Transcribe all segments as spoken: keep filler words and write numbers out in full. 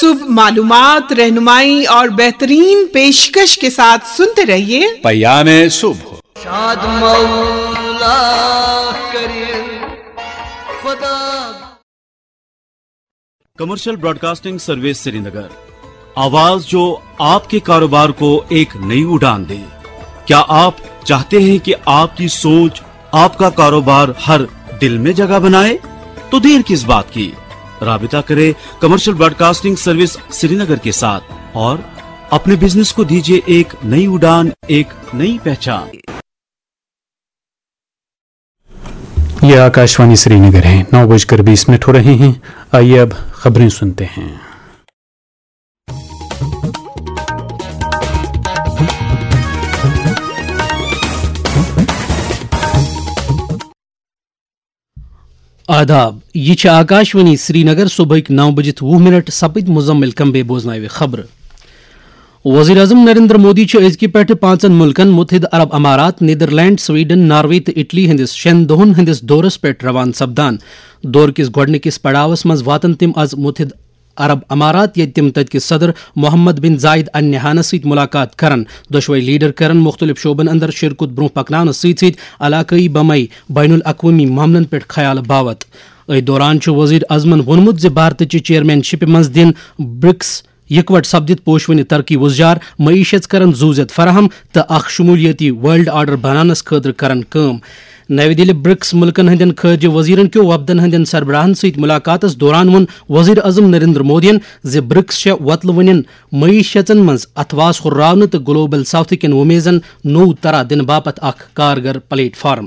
صبح معلومات، رہنمائی اور بہترین پیشکش کے ساتھ سنتے رہیے پیام صبح۔ شاد مولا کرے خدا۔ کمرشل براڈکاسٹنگ سروس سرینگر، آواز جو آپ کے کاروبار کو ایک نئی اڑان دے۔ کیا آپ چاہتے ہیں کہ آپ کی سوچ، آپ کا کاروبار ہر دل میں جگہ بنائے؟ تو دیر کس بات کی، رابطہ کریں کمرشل براڈکاسٹنگ سروس سرینگر کے ساتھ اور اپنے بزنس کو دیجیے ایک نئی اڑان، ایک نئی پہچان۔ یہ آکاشوانی سری نگر ہے۔ نو بج کر بیس منٹ ہو رہے ہیں۔ آئیے اب خبریں سنتے ہیں۔ آداب، یہ چھِ آکاشوانی سرینگر۔ صبحٕکۍ نو بجِتھ وُہ منٹ سپٕدۍ، مزمل کمبے بوزناوِ خبرٕ۔ وزیر اعظم نریندر مودی چھُ أزکہِ پٮ۪ٹھٕ پانٛژن مُلکن متحدہ عرب امارات، نیدرلینڈ، سویڈن، ناروے تہٕ اٹلی ہٕنٛدِس شٮ۪ن دۄہن ہٕنٛدِس دورس پٮ۪ٹھ روانہٕ سپدان۔ دورٕ کِس گۄڈٕنِکِس پڑاوس منٛز واتن تِم از متحدہ عرب امارات، ییٚتہِ تِم تتہِ کِس صدر محمد بن زاید ال نہیانس سۭتۍ مُلاقات کرن۔ دۄشوے لیڈر کرن مُختٔلِف شعبن اندر شراکت برونٛہہ پکناونس سۭتۍ سۭتۍ علاقٲیی بمے بین الاقوٲمی معاملن پٮ۪ٹھ خیال باوت۔ أتھۍ دوران چھُ وزیر اعظمن ووٚنمُت زِ بھارتٕچہِ چیئرمین شپہِ منٛز دِن برکس یکوٹ سپدِتھ پوشونہِ ترقی وُزجار، معیشت کرن زُو زیت فراہم تہٕ اکھ شمولیٲتی ورلڈ آرڈر بناونس خٲطرٕ کرن کٲم۔ نَوِ دِلہِ برکس مُلکن ہٕنٛدٮ۪ن خارجہ وزیرن کیو وفدن ہٕنٛدٮ۪ن سربراہن سۭتۍ مُلاقاتس دوران ووٚن وزیر اعظم نریندر مودیَن زِ برکس چھےٚ وۄتلہٕ وٕنٮ۪ن معیشتن منٛز اتھواس ہُرراونہٕ تہٕ گلوبل ساوتھٕ کٮ۪ن وۄمیزن نوٚو ترا دِنہٕ باپتھ اکھ کارگر پلیٹ فارم۔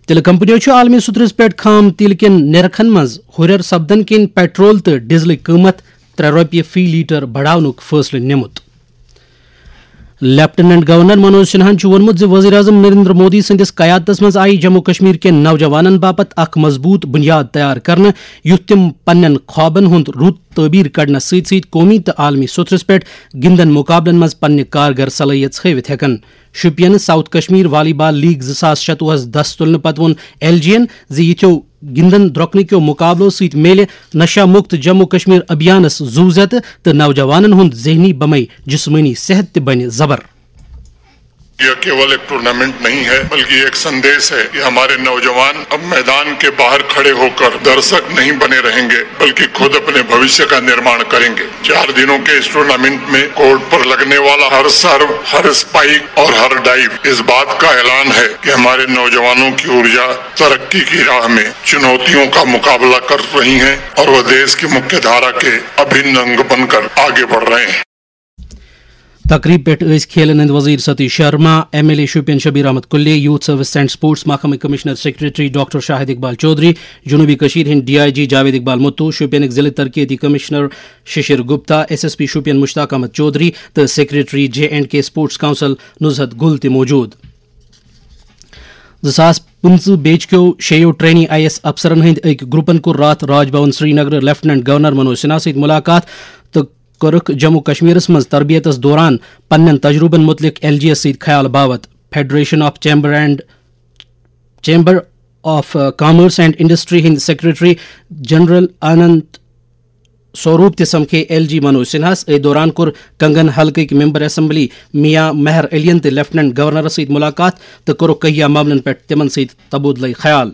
تیلہٕ کمپنیو چھُ عالمی سطحس پٮ۪ٹھ خام تیل کٮ۪ن نرخن منٛز ہُرٮ۪ر سپدن کِنۍ پیٹرول تہٕ ڈیزلٕکۍ قۭمتھ ترٛےٚ رۄپیہِ فی لیٹر بڑاونُک فٲصلہٕ نِمُت۔ لیفٹیننٹ گورنر منوج سنہاہن چھُ ووٚنمُت زِ وزیر اعظم نریندر مودی سٕنٛدِس قیادتس منٛز آیہِ جموں کشمیر کٮ۪ن نوجوانن باپتھ اکھ مضبوٗط بُنیاد تیار کرنہٕ، یُتھ تِم پننٮ۪ن خوابن ہُنٛد رُت تعبیر کرنس سۭتۍ سۭتۍ قومی تہٕ عالمی سطحس پٮ۪ٹھ گِنٛدن مقابلن منٛز پننہِ کارگر صلٲحیژ ہٲوِتھ ہٮ۪کن۔ شوپین ساؤتھ کشمیر والی بال لیگ زٕ ساس شتوُہس دس تُلنہٕ پتہٕ ووٚن ایل جی یَن زِ یِتھیو گِنٛدن درۄکنہٕ کیو مُقابلو سۭتۍ میلہِ نشہ مُکت جموں کشمیر ابھیانس زُو زیتہٕ تہٕ نوجوانن ہُنٛد ذہنی بمے جسمٲنی صحت تہِ بنہِ زبر۔ یہ کیول ایک ٹورنامنٹ نہیں ہے، بلکہ یہ ایک سندیش ہے کہ ہمارے نوجوان اب میدان کے باہر کھڑے ہوکر درشک نہیں بنے رہیں گے، بلکہ خود اپنے بھوشیہ کا نرماڑ کریں گے۔ چار دنوں کے اس ٹورنامنٹ میں کورٹ پر لگنے والا ہر سرو، ہر اسپائک اور ہر ڈائیو اس بات کا اعلان ہے کہ ہمارے نوجوانوں کی ارجا ترقی کی راہ میں چنوتیوں کا مقابلہ کر رہی ہیں اور وہ دیش کی مکھیہ دھارا کے ابھن انگ بن کر آگے بڑھ رہے ہیں۔ تقریب پٮ۪ٹھ ٲسۍ کھیلن ہٕنٛدۍ وزیر Satish Sharma, M L A Shopian Shabir Ahmad Kullay, youth service and sports محکمٕکۍ commissioner secretary doctor Shahid Iqbal Choudhary, جنوبی کشمیر ہٕنٛدۍ D I G Javid Iqbal Mattoo, شوپینٕکۍ ضلع ترقیتی commissioner Shishir Gupta, S S P Shopian Mushtaq Ahmad Choudhary تہٕ secretary J and K sports council Nuzhat Gul تہِ موجود۔ زٕ ساس پٕنٛژٕہ بیچ کیو شیٚیو ٹرینی آئی ایس افسرن ہٕنٛدۍ أکۍ گروپن کوٚر راتھ راج بھون سرینگر لیفٹیننٹ گورنر منوج سنہا سۭتۍ مُلاقات تہٕ کٔرٕکھ جموں کشمیرس منٛز تربیتس دوران پننٮ۪ن تجربن مُتعلق ایل جی یس سۭتۍ خیال باوت۔ Federation of chamber and chamber of commerce and industry ہٕنٛدۍ سیکرٹری جنرل آنند سوروپ تہِ سمکھے ایل جی منوج سنہاس۔ أتھۍ دوران کوٚر کنگن حلقٕکۍ ممبر اسمبلی میاں مہر علین تہِ لیفٹیننٹ گورنرس سۭتۍ مُلاقات تہٕ کوٚرُکھ کہیا معاملن پٮ۪ٹھ تِمن سۭتۍ تبادلہٕ خیال۔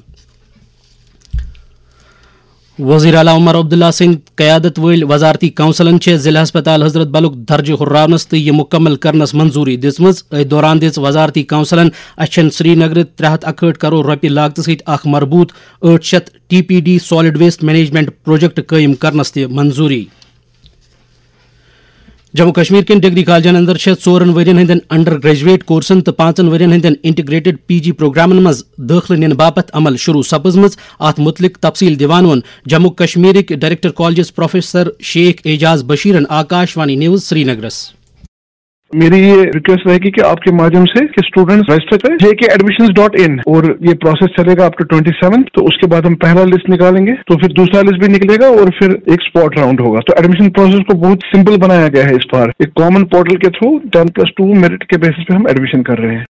وزیر اعلیٰ عمر عبداللہ سٕنٛدِ قیادت وٲلۍ وزارتی کونسلن چھےٚ ضلع ہسپتال حضرت بلُک درجہٕ ہُرراونس تہٕ یہِ مُکمل کرنس منظوٗری دِژمٕژ۔ أتھۍ دوران دِژ وزارتی کونسلن اچھن سرینگرٕ ترٛےٚ ہتھ اکہٲٹھ کرور رۄپیہِ لاگتہٕ سۭتۍ اکھ مربوط ٲٹھ شیٚتھ T P D solid waste management project قٲیِم کرنس تہِ منظوٗری۔ جموں کشمیر کٮ۪ن ڈگری کالجن اندر چھےٚ ژورن ؤرین ہٕنٛدٮ۪ن انڈر گریجویٹ کورسن تہٕ پانٛژن ؤرین ہٕنٛدٮ۪ن انٹیگریٹڈ پی جی پروگرامن منٛز دٲخلہٕ نِنہٕ باپتھ عمل شروع سپٕزمٕژ۔ اتھ مُتعلق تفصیل دِوان ووٚن جموں کشمیرٕکۍ director colleges professor Sheikh Ajaz بشیرن آکاش وانی نیوز سرینگرس۔ میری یہ ریکویسٹ رہے گی کہ آپ کے مادھیم سے کہ اسٹوڈنٹس رجسٹر کریں جے کے ایڈمیشن ڈاٹ ان، اور یہ پروسیس چلے گا اپ ٹو ٹوئنٹی سیون۔ تو اس کے بعد ہم پہلا لسٹ نکالیں گے، تو پھر دوسرا لسٹ بھی نکلے گا اور پھر ایک اسپاٹ راؤنڈ ہوگا۔ تو ایڈمیشن پروسیس کو بہت سمپل بنایا گیا ہے اس بار، ایک کامن پورٹل کے through ten plus two merit کے بیسس پہ ہم ایڈمیشن کر رہے ہیں۔